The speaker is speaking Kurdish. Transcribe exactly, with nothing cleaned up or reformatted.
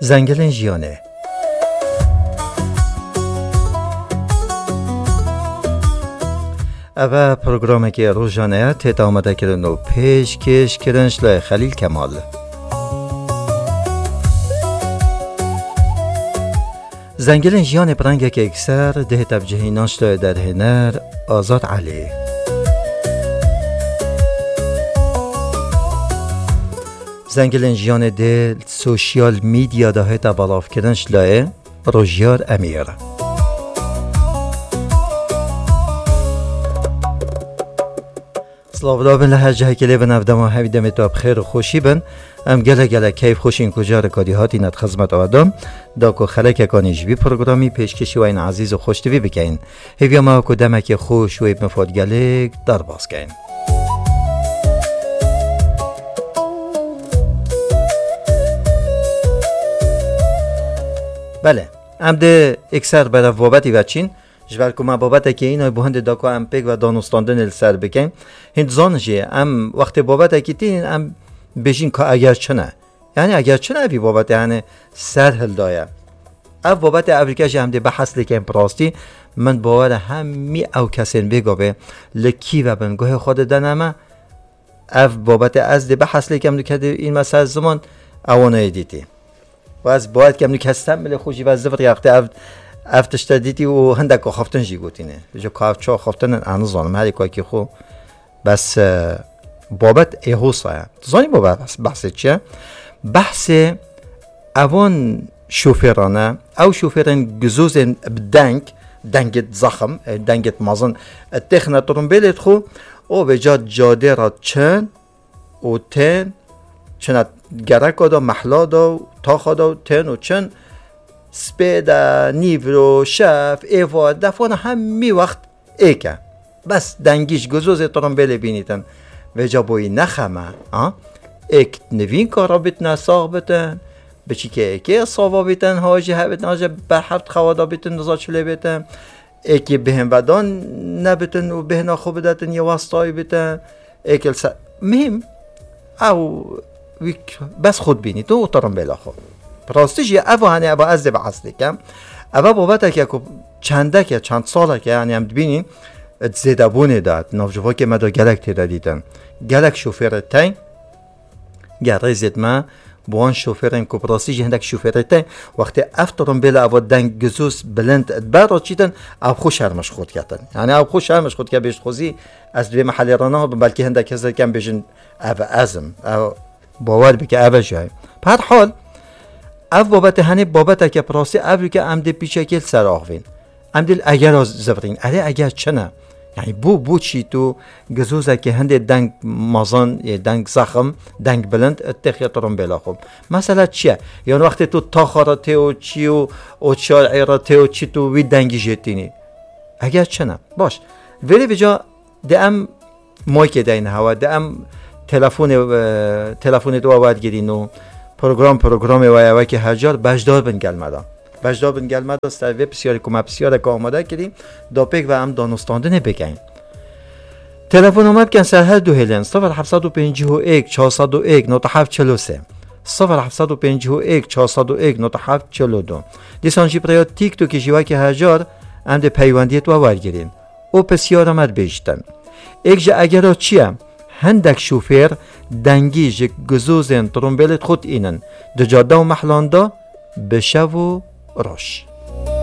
Zengilên jiyanê. Ev e programekê rojane ye, tête amadekirin û pêşkêşkirin ji layê Xelîl Kemal. Zengilên jiyanê bi rengekê yekser dihête bi cihînan ji layê derhêner Azad Elî. Zengilên jiyanê dê li sosyal medya de hête belavkirin ji layê Rojiyar Emîr. Silav da bin li her cihekê lê bin, ev dema hevî demê tu bi xêr û xweşî bin. Em gelek gelek keyf xweşîn ku careka dî hatîne di xizmeta we de, da ku xelekekanî ji vî programî pêşkêşî we yên ezîz û xweştivî bikeyin. Hêviya me ku demekê xweş wê bi mifadgelêk derbas keyin. Belê, em dê êkser berev babetî veçîn. Ji ber ku me babetekê înay bo hindê da ku em pêk ve danûstandinê li ser bikin. Hîn dizan jî em wextê babetekî tînin em bêjin ka eger çi ne. Yani eger çi ne vî babetê yani ser hildaye. Ev babetê evrike jî em dê behs lêkin bi rastî. Min bawer e hemî ew kesên bêgavê li kî ve bin guhê xwe didene me. Ev babetê ez dê behs lêkim dike dê înme ser ziman ewanayê dîtî. Û ez bawer dikim, nû kes tem milê xwe jî ve zivirî wextê ev, ev tişte dîtî û hindek axaftin jî gotîne. Ji ka ev çi axaftin in, ez nizanim, herî kakî xwe. Bes, e, babet ê hosa ye. Tu zanî babet behs-, behsê çi ye? Behsê ewan şofêran e. Ew şofêrên gizozên bi deng, dengêt zexim, e, dengêt mezin, e, têxine trumbêlê xwe, û vêca cadê re çin, û tên, çine gereka de, mehla de, taxa de, tên û çin, spê de, nîvro, şev, êvar, defana hemî wext êk e. Bes dengî ji gizozê trumbêlê bînîtin. Vêca boyî nexeme, ha? Êk nivîn kara bitine, sax bitin, biçîkê êkê sava bitin, ha jî hebitin, ha jî berhev xewa da bitin, niza çi lê bitin. Êkî bêhn vedan nebitin û bêhna xwe bidetin yê westayî bitin. Êkî li ser, mihîm, ew wî k-, bes xwe dibînî tu û tirimbêla xwe. Bi rastî jî ev hanê ev ez dê bi eslê kem. Ev e babeteke ku çendeke, çend saleke, yani em dibînîn, di zêdebûnê de, di navcivakê me de gelek tê de dîtin. Gelek şofêrê teng, Ger rêzêt me, bi wan şofêrên ku bi rastî jî hindek şofêrê te, wextê ev tirimbêla eva deng gizoz bilind di ber re çîtin, ev xwe şerm ji xwe diketin. Yani ev xwe şerm ji xwe dike, bêjt xwezî ez di vê mehelê re nabim, belkî hindek kes dikin bêjin ev ez im. Ev bawer bike, ev e jî. Bi her hal, ev babetê henê babeteke bi rastî ev dike em dê pîçekê li ser axivîn. Em dê li egera zivirîn. Erê eger çi ne? Yani bû, bû çî tu gizozekê hindê deng mezin, ê deng zexim, deng bilind, têxê tirimbêla xwe. Mesela çi ye? Yan wextê tu taxa re tê û çî û, û çarê re tê û çî tu wî dengî jê tînî. Eger çi ne? Baş. Vêrê vêca dê em maykê deyne hewa, dê em telefonê, e, telefonê dua wergirîn û program programê we ye wekî her car beşdar bin gel me de. Beşdar bin gel me de ser vê pisyarê ku me pisyareke amade kirî, da pêk ve em danûstandinê bikin. Telefona me bikin ser her du hêlên sifir heft sed û pêncî û yek çar sed û yek nota heft çil û sê. Sifir heft sed û pêncî û yek çar sed û yek nota heft çil û du. Dîsan jî bi rêya TikTokê jî wekî her car em dê peywendiyê we wergirîn. Û pisyara me dibêjtin. Êk ji egera çi ye? Hindek şofêr dengî ji gizozên tirimbêlê xwe diînin. Di cade û mehlan de bi şev û roj.